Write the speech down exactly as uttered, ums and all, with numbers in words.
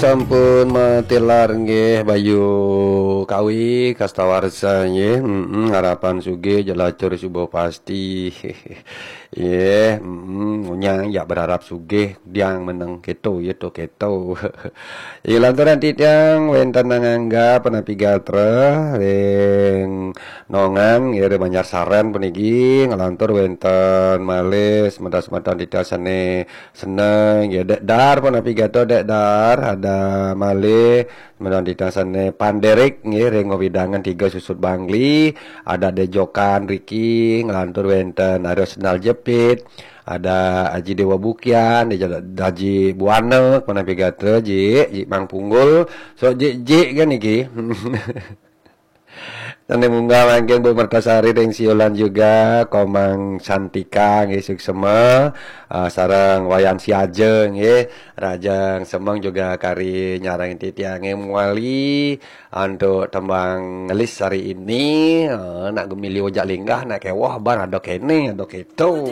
Sampun matilar nggih Bayu Kawi Kastawarsa nggih. Mm-mm, harapan sugih jelacur subuh pasti. Nggih, mm-mm, ngunyang ya berharap sugih diang meneng keto ya to keto. Ing lanturan titiang wenten nang angga penapi gatra ring nongan nggih ring Banjar Saren puniki, nglantur wenten malih semeton-semeton titiang sane seneng nggih Dek Dar penapi gatra Dek Dar, ada malih semeton titiang sane Panderik nggih ring wewidangan Tiga Susut Bangli, ada Dejokan riki, nglantur wenten Aryo Sendal Jepit, ada Aji Dewa Bukian, ada Aji Buana penapi gatra, Jik, Jik Mang Punggul, so Jik Jik kan niki. Sane munggah mangkin Bu Mertasari ring Siulan juga, Komang Santika nggih suksema, ah, sareng Wayan Siaja nggih, Rajang Semeng juga kari nyarengin titiange mawali antuk tembang ngelis hari ini, eh, nak gumili ojak linggah, nak kewoh bar ada kene, ada keto.